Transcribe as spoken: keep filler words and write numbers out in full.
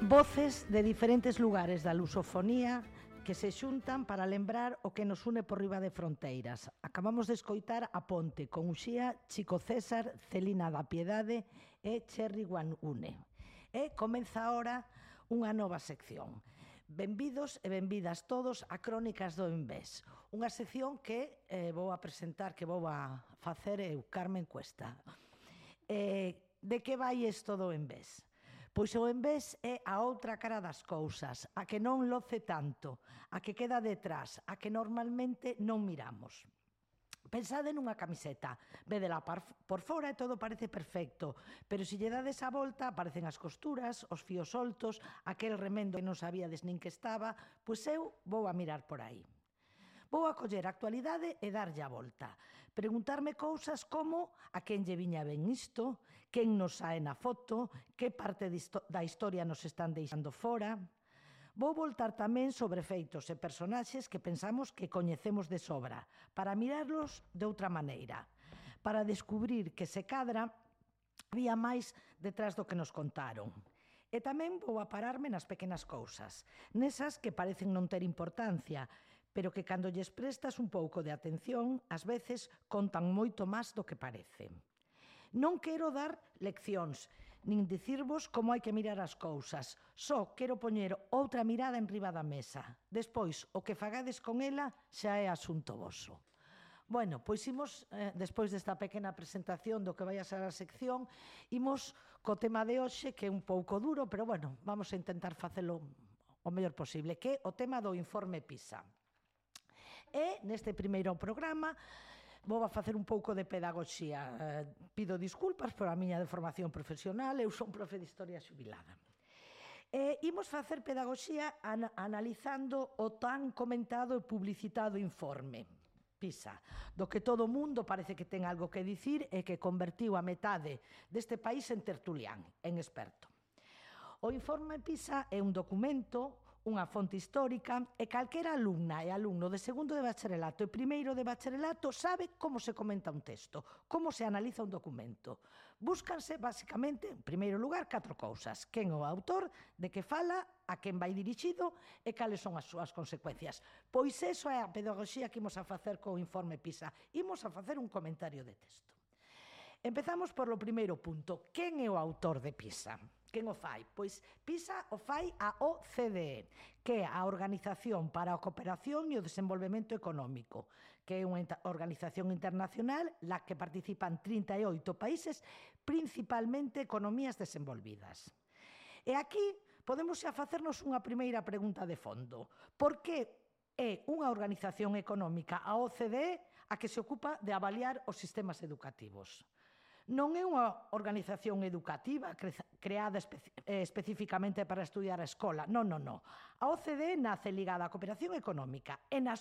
Voces de diferentes lugares da lusofonía que se xuntan para lembrar o que nos une por riba de fronteiras. Acabamos de escoitar A Ponte con Uxía, Chico César, Celina da Piedade e Cherry One Une. E comeza agora unha nova sección. Benvidos e benvidas todos a Crónicas do Envés, unha sección que eh, vou a presentar, que vou a facer eu, Carmen Cuesta. Eh, de que vai isto do Envés? Pois o envés é a outra cara das cousas, a que non loce tanto, a que queda detrás, a que normalmente non miramos. Pensade nunha camiseta, védela por fora e todo parece perfecto, pero se lle dades a volta aparecen as costuras, os fíos soltos, aquel remendo que non sabíades nin que estaba, pois eu vou a mirar por aí. Vou a coller a actualidade e darlle a volta. Preguntarme cousas como a quen lle viña ben isto, quen nos sae na foto, que parte da historia nos están deixando fora. Vou voltar tamén sobre feitos e personaxes que pensamos que coñecemos de sobra, para mirarlos de outra maneira, para descubrir que se cadra había máis detrás do que nos contaron. E tamén vou a pararme nas pequenas cousas, nesas que parecen non ter importancia, pero que cando lles prestas un pouco de atención, ás veces contan moito máis do que parece. Non quero dar leccións, nin dicirvos como hai que mirar as cousas, só quero poñer outra mirada en riba da mesa. Despois, o que fagades con ela xa é asunto voso. Bueno, pois imos, eh, despois desta pequena presentación do que vai a ser a sección, imos co tema de hoxe, que é un pouco duro, pero bueno, vamos a intentar facelo o mellor posible, que é o tema do informe PISA. E neste primeiro programa vou a facer un pouco de pedagogía. Pido disculpas por a miña deformación profesional, eu son profe de Historia xubilada. E imos facer pedagogía analizando o tan comentado e publicitado informe PISA, do que todo o mundo parece que ten algo que dicir e que convertiu a metade deste país en tertulián, en experto. O informe PISA é un documento, unha fonte histórica, e calquera alumna e alumno de segundo de bacharelato e primeiro de bacharelato sabe como se comenta un texto, como se analiza un documento. Búscanse, basicamente, en primeiro lugar, catro cousas. Quen é o autor, de que fala, a quen vai dirixido e cales son as súas consecuencias. Pois iso é a pedagogía que imos a facer co informe PISA. Imos a facer un comentario de texto. Empezamos por lo primeiro punto. Quen é o autor de PISA? Quen o fai? Pois PISA o fai a O C D E, que é a Organización para a Cooperación e o Desenvolvemento Económico, que é unha organización internacional na que participan trinta e oito países, principalmente economías desenvolvidas. E aquí podemos xa facernos unha primeira pregunta de fondo. Por que é unha organización económica, a O C D E, a que se ocupa de avaliar os sistemas educativos? Non é unha organización educativa creada especificamente para estudiar a escola. Non, non, non. A O C D E nace ligada á cooperación económica e na